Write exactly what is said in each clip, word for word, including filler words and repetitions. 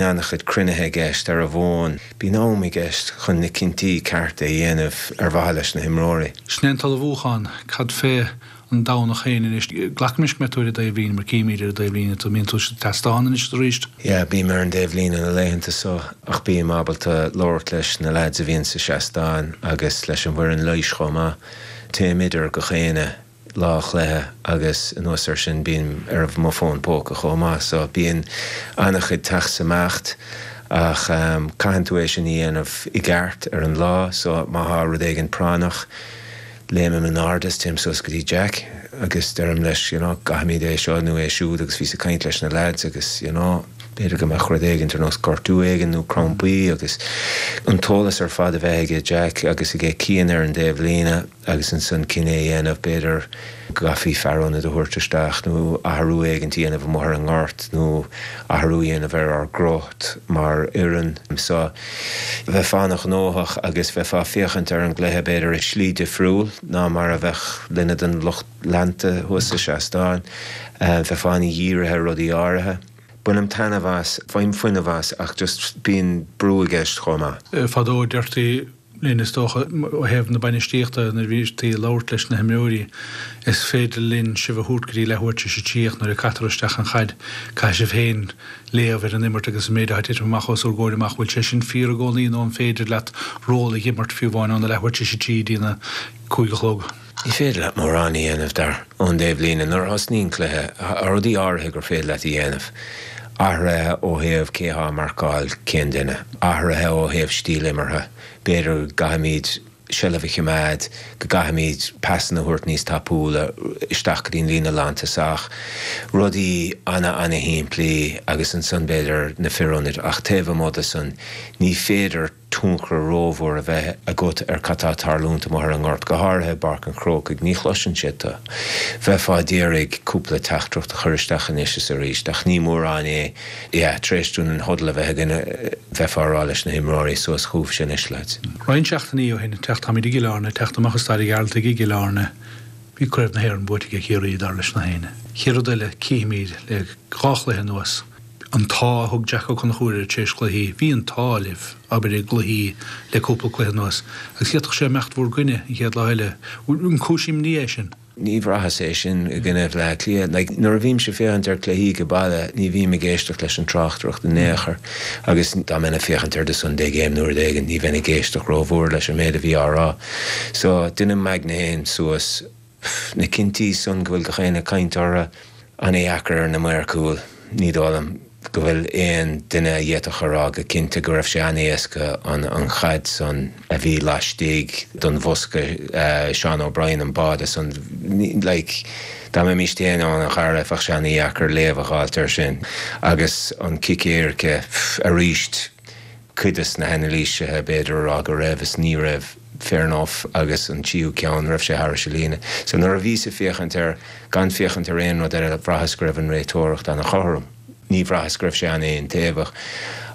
An-chuid cruinnithe i gceist ar an bhfón. Bíonn am i gceist chun na cinntí cearta a dhéanamh ar mhaithe leis na himreoirí. Sin é an t-ullmhúchán, cad fé an Domhnach féin anois? Glacaimis go mbeidh tú ar an dtaobhlíne mar címid ar an dtaobhlíne tú, mbíonn tú sa tseastán anois arís? Yeah, bím ar an dtaobhlíne na laethanta so ach bím ábalta labhairt leis na lads a bhíonn sa seastán agus leis an bhfoireann leighis chomh maith. Téim idir gach aon lá chluiche agus anuas air sin bím ar mo fón póca chomh maith so bíonn an-chuid teacht is imeacht ach um, caitheann tú é sin a dhéanamh i gceart ar an lá so má tá rud éigin práinneach léimim in airde is téim suas go dtí Jack agus deirim leis you know, caithfimid é seo nó é siúd agus bhíos ag caint leis na lads agus you know, b'fhéidir go mbeadh rud éigin ar nós gortú éigin nó crampaí agus an t-eolas ar fad a bheith aige Jack agus aige Cian ar an dtaobhlíne agus ansan cinneadh a dhéanamh b'fhéidir go gcaithfí fear ionaid a thabhairt isteach nó athrú éigin a dhéanamh amuigh ar an ngort nó athrú a dhéanamh ar ár gcruth mar fhoireann. So bheifeá an-ghnóthach agus bheifeá ag féachaint ar an gcluiche b'fhéidir i slí difriúil ná mar a bheadh duine den lucht leanta thuas sa seastán, bheifeá an-dhírithe ar rudaí áirithe. Bainim taitneamh as, faighim fuinneamh as ach just bíonn brú i gceist chomh maith. Fadó deirtí linn is dócha ó thaobh na bainistíochta nuair a bhítí ag labhairt leis na himreoirí, is féidir linn sibh a thabhairt go dtí leathuair tar éis a trí ach nuair a caitear isteach an chaid caithfidh sibh féin léamh ar an imirt agus an méid atá ag titim amach os bhur gcomhair amach. Bhfuil sé sin fíor i gcónaí nó an féidir leat ról a imirt fiú amháin óna leathuair tar éis a trí go dtí na cúig a chlog? Ní féidir leat mórán a dhéanamh dar ón dtaobhlíne nuair a thosnaíonn cluiche, tá rudaí áirithe gur féidir leat a dhéanamh. Athruithe ó thaobh cé atá ag marcáil cén duine, athruithe ó thaobh stíl imeartha, b'fhéidir go gcaithfimid seilbh a choimeád, go gcaithfimid pasanna a thabhairt níos tapúla isteach go dtí an líne lántosach, rudaí ana-ana-shimplí agus ansan b'fhéidir na fir ionaid ach taobh amuigh de san ní féidir tionchar rómhór a bheith agat ar cad tá ag tarlúint amuigh ar an ngort, go háirithe i bPáirc an Chrócaigh. Ní chloiseann siad tú. Bheifeá ag iarraidh cúpla teachtaireacht a chur isteach anois is arís, ach ní mórán é. Yeah, tar éis dúinn an huddle a bheith againn, bheifeá ag rá leis na himreoirí, suas chugaibhse anois, lads. Roinnt seachtainí ó shin, teacht, táimid i gCill Airne, teacht amach as Staid an Ghearaltaigh i gCill Airne, bhí Craobh na hÉireann buaite ag Ciarraí, dar leis na héinne. Chéad rud eile, cífimid le dhá chluiche anuas, An t-ádh a thug Jack Ó Conchúir air tar éis cluichí, bhí an t-ádh libh, abair, i gcluichí le cúpla cluiche anuas, agus d'fhéadfadh sé imeacht bhur gcoinne an chéad lá eile. An cúis imní é sin? Ní bhraitheas é sin i gcoinne Bhaile Átha Cliath. Like, nuair a bhímse ag féachaint ar cluichí ag baile, ní bhím ag éisteacht leis an tráchtaireacht in aon chor. Agus dá mbeinn ag féachaint ar The Sunday Game nó rud éigin, ní bheinn ag éisteacht rómhór leis an méid a bhí á rá. So, deinim m'aigne féin suas. Na cinntí san go bhfuil gach éinne ag caint orthu, an-dheacair ar na maoir cúil. Ní dóigh liom go bhfuil aon duine a d'fhéadfadh a rá go cinnte go raibh sé an-éasca an an chaid san a bhí laistigh den bhosca, Seán O'Brien an báide san, like, dá mbeimis féin ann a Dhara, bheadh sé an-dheacair léamh a dh'fháilt air sin. Agus an cic éirice, aríst. cuid des na hanailísithe b'fhéidir a rá go raibh is ní raibh, fair enough, agus an tríú ceann, raibh sé thairis an líne. So nuair a bhíos ag féachaint air, gan féachaint ar aon rud eile, bhraitheas go raibh an réiteoireacht an-chothrom. Ní bhraitheas go raibh sé an-aontaobhach.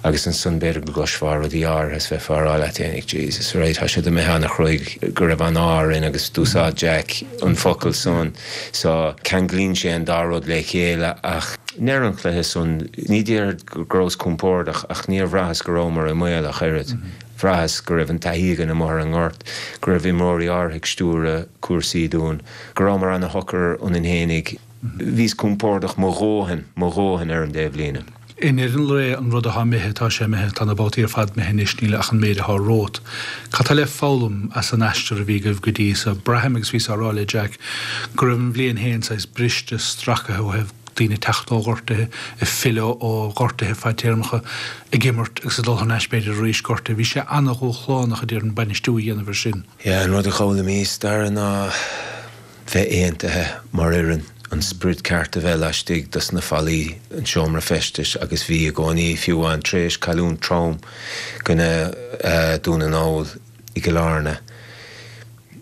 Agus ansan b'fhéidir go gcloisfeá rudaí áirithe is bheifeá ag rá leat fhéinig, Jesus, right, tá siad imithe an-chruaidh, go raibh an ádh orainn agus d'úsáid Jack an focal san. So ceanglaíonn sé an dá rud le chéile ach i ndeireadh an chluiche san, ní déarfad go rabhas compordach ach níor bhraitheas go rabhamar i mbaol ach oiread. Bhraitheas go raibh an taithí againn amuigh ar an ngort, go raibh imreoirí áirithe ag stiúradh cúrsaí dúinn, go rabhamar ana-shocair ionainn fhéinig. Bhíos compordach mo dhóthain, mo dhóthain ar an dtaobhlíne. I ndeireadh an lae, an rud atá imithe, tá sé imithe, tá na babhtaí ar fad imithe anois, níl ach an méid atá romhat. Cad tá le foghlaim as an aistear a bhí agaibh go dtí so? Braithim, agus bhíos á rá le Jack, go raibh an bhliain féin saghas briste, stracaithe ó thaobh daoine ag teacht ó ghortuithe, ag filleadh ó ghortuithe fadtéarmacha, ag imirt agus ag dul thar n-ais b'fhéidir arís gortaithe. Bhí sé ana-dhúshlánach, a déarfainn, bainistiú a dhéanamh air sin. Yeah, an rud a d'fhoghlaimíos, Dara, ná bheith aontaithe mar fhoireann, an sprid ceart a bheith laistigh dos na fallaí, an seomra feistis agus bhí i gcónaí, fiú amháin tar éis cailliúint trom i gcoinne Dún na nGall i gCill Airne,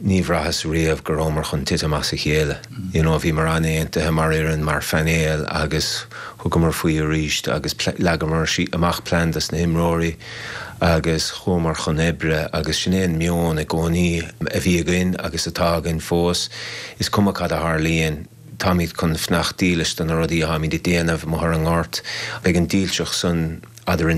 ní bhraitheas riamh go rabhamar chun titim as a chéile. You know, bhíomar an-aontaithe mar fhoireann, mar phainéal agus thugamar faoi arís agus leagamar amach plean dos na himreoirí agus chuamar chun oibre agus sin é an meon i gcónaí a bhí againn agus atá againn fós. Is cuma cad a tharlaíonn, táimid chun fanacht dílis do na rudaí atáimid ag déanamh amuigh ar an ngort. Beidh an dílseacht san eadrainn.